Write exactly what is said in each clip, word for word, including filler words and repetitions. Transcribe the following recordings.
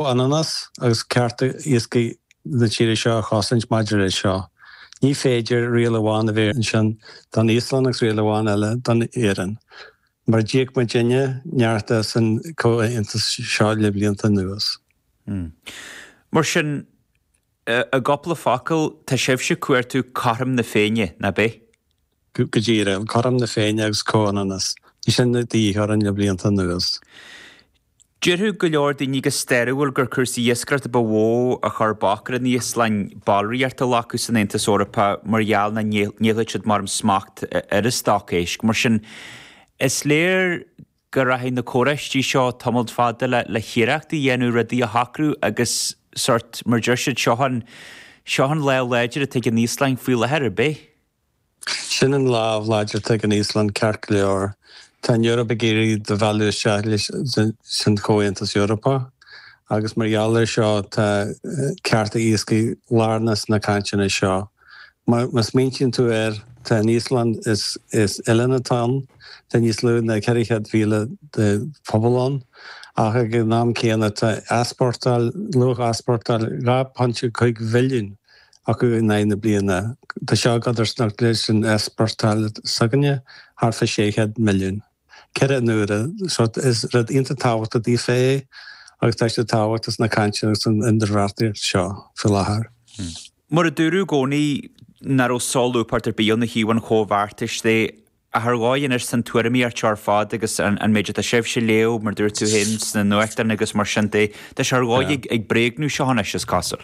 Comhionannas agus cearta iascaigh na tíre seo a chosaint maidir leis seo. Ní féidir riail amháin a bheith ansin don Íoslainn agus riail amháin eile don Éirinn. Mar d'íoc muidinne neart as an comhaontas seo le blianta anuas. Mar sin, i gcúpla focal, tá sibhse ag cuartú cothrom na Féinne, nach b'é? Go díreach, cothrom na Féinne agus comhionannas. Bhí sin de dhíth orainn le blianta anuas. Déarfadh go leor daoine go stairiúil gur cúrsaí iascaireachta ba mhó a chuir bac ar an Íoslainn ballraíocht a ghlacadh san Aontas Eorpach mar gheall nach ndéanfadh siad mar smacht ar a stoc éisc. Mar sin, is léir go rachaidh na comhráití seo tamall fada le le hiarracht a dhéanamh rudaí a shocrú agus sórt, mar deir siad, seo an seo an lámh láidir atá ag an Íoslainn faoi láthair, ar bith. Sin an lámh láidir atá ag an Íoslainn ceart go leor. Tá an Eoraip ag iarraidh do mhealladh isteach leis san Chomhaontas Eorpach agus mar gheall air seo tá cearta iascaigh lárnach sna cainteanna seo. Má smaointíonn tú air, tá an Íoslainn, is is oileán atá ann, tá níos lú ná ceithre chéad mhíle de phobal ann, ach ag an am céanna tá easpórtáil, luach easpórtáil dhá phointe cúig bhilliún acu in aghaidh na bliana. Tá seo i gcodarsnacht leis an easpórtáil s'againne, thart fá sé chéad milliún. Ceithre n-uaire. So is rud iontach tábhachtach daofa é agus tá sé tábhachtach sna cainteanna agus san idirbheartaíocht seo faoi láthair. Mar a dúradh i gcónaí nach raibh solúbthacht ar bith ann ó thaobh an chomhbheartais de, ach ar dhóigh anois san tuairimíocht seo ar fad agus an méid atá sibhse a léamh, mar dúirt tú féin, sna nuachtáin agus mar sin de, tá sé ar dhóigh ag bréagnú seo anois, is cosúil.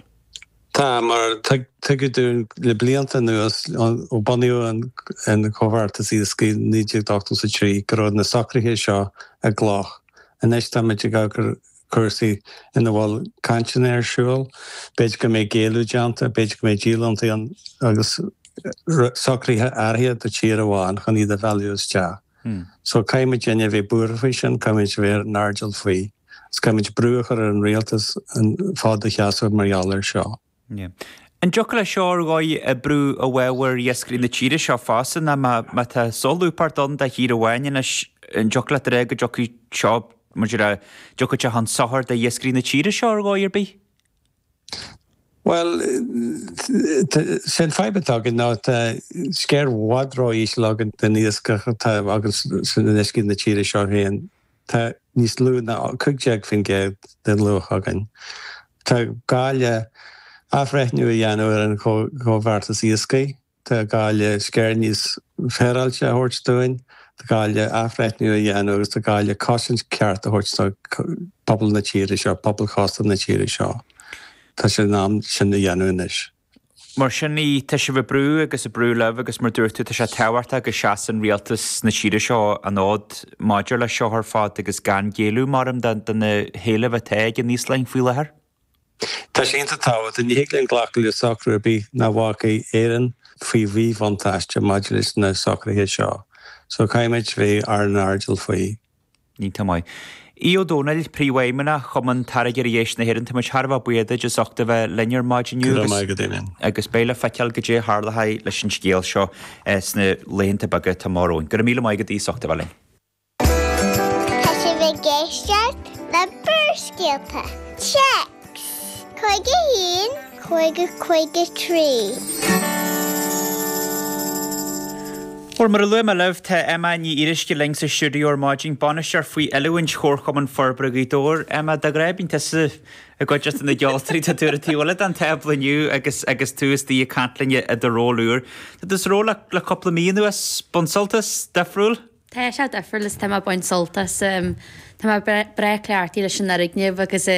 Tá, mar tuigeadh dúinn le blianta anuas, ó bunaíodh an Comhbheartas Iascaigh i naoi déag ochtó a trí, go raibh na socruithe seo i gcloch. Anois táimid ag amharc ar chúrsaí ina bhfuil cainteanna ar siúl, b'fhéidir go mbeidh géilleadh déanta, b'fhéidir go mbeidh díolúintí ann agus socruithe áirithe do tír amháin chun iad a mhealladh isteach. So caithfidh muidinne a bheith buartha faoi sin, caithfidh muid a bheith ar an airdeall faoi. Agus caithfidh muid brú a chur ar an rialtas an fód a sheasamh mar gheall air seo. An dtiocfadh leis seo ar dhóigh oibriú i bhfabhar iascairí na tíre seo fosta nó má tá solúbthacht ann do thír amháin anois, an dtiocfadh leat a rá go dtiocfaidh seo, mar a déarfá, dtiocfaidh sé chun sochair d'iascairí na tíre seo ar dhóigh ar bith? Bhuel, sé an fadhb atá againn ná tá sciar i bhfad ró-íseal againn den iascach atá againn san uiscí na tíre seo féin. Tá níos lú ná cúig déag faoin gcéad den luach againn. Tá gá le athbhreithniú a dhéanamh ar an Chomhbheartas Iascaigh. Tá gá le sciar níos féaráilte a thabhairt dúinn. Tá gá le athbhreithniú a dhéanamh agus tá gá le cosaint ceart a thabhairt do phobal na tíre seo, pobal chósta na tíre seo. Tá sé in am sin a dhéanamh anois. Mar sin de, tá sibh ag brú agus ag brú libh agus mar dúirt tú, tá sé tábhachtach go seasann rialtas na tíre seo an fhód maidir leis seo ar fad agus gan géilleadh, maram, do na héilimh atá ag an Íoslainn faoi láthair. Tá sé iontach tábhachtach. Ní thig linn glacadh le socrú ar bith nach bhfágfaidh Éirinn faoi mhíbhuntáiste maidir leis na socruithe seo. So caithfimid bheith ar an airdeall faoi. Iontach maith. Aodh Ó Domhnaill, Príomhfheidhmeannach Chumann Táirgeoirí Éisc na hÉireann, tá muid thar a bheith buíoch duit as ucht a bheith linn ar maidin inniu Go raibh maith agat, Damien. agus beidh le feiceáil goidé a tharlóidh leis an scéal seo sna laethanta beaga atá amach romhainn. Go raibh míle maith agat as ucht a bheith linn. Tá sibh ag éisteacht le Barrscéalta. Téacs cúig a haon, cúig a cúig a trí. Bhuel, mar a luaigh mé libh, tá Emma Ní Fhíoruisce linn sa stiúideo ar maidin, bainisteoir faoi oiliúint Chomharchumann Forbartha Ghaoth Dobhair. Emma, de ghnáth bíonn tusa i gcuideachta na gceoltóirí, tá tú ar an taobh eile den tábla inniu agus agus tú istigh ag caint linn i do ról úr. Tá tú sa ról le le cúpla mí anuas, baint sult as, difriúil? Tá sé difriúil is tá mé ag baint sult as. Tá mé breá cleachtaithe leis an fhoirgneamh agus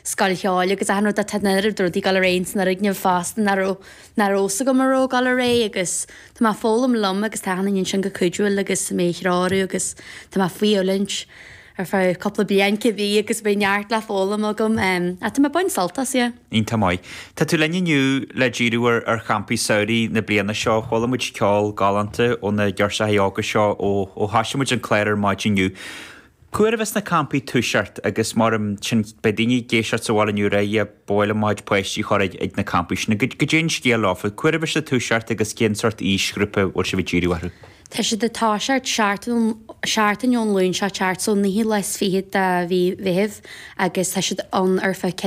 scoil cheoil agus achan rud. Tá an oiread rudaí ag dul ar aghaidh san fhoirgneamh fosta nach raibh nach raibh fhios agam a raibh ag dul ar aghaidh agus tá mé ag foghlaim liom agus tá achan duine ansin go cuidiúil agus mé a threorú agus tá mé faoi oiliúint ar feadh cúpla bliain cibé agus beidh neart le foghlaim agam. Ach tá mé ag baint sult as, yeah. Iontach maith. Tá tú linn inniu le díriú ar ar champaí samhraidh na bliana seo. Chuala muid ceol galánta ó na girseachaí óga seo ó ó thoisigh muid an clár ar maidin inniu. Cá huair a bheas na campaí ag toiseacht agus mar sin beidh daoine ag éisteacht sa bhaile inniu ag rá yeah ba mhaith liom mo chuid páistí a chur ag ag na campaí sin. Goidé an scéal leofa? Cá huair a bheas siad ag toiseacht agus cén sórt aoisghrúpa a bhfuil sibh ag díriú orthu? Tá siad ag toiseacht seachtain ón Luan seo teacht so naoú lá is fiche de mhí Mheithimh agus tá siad ann ar feadh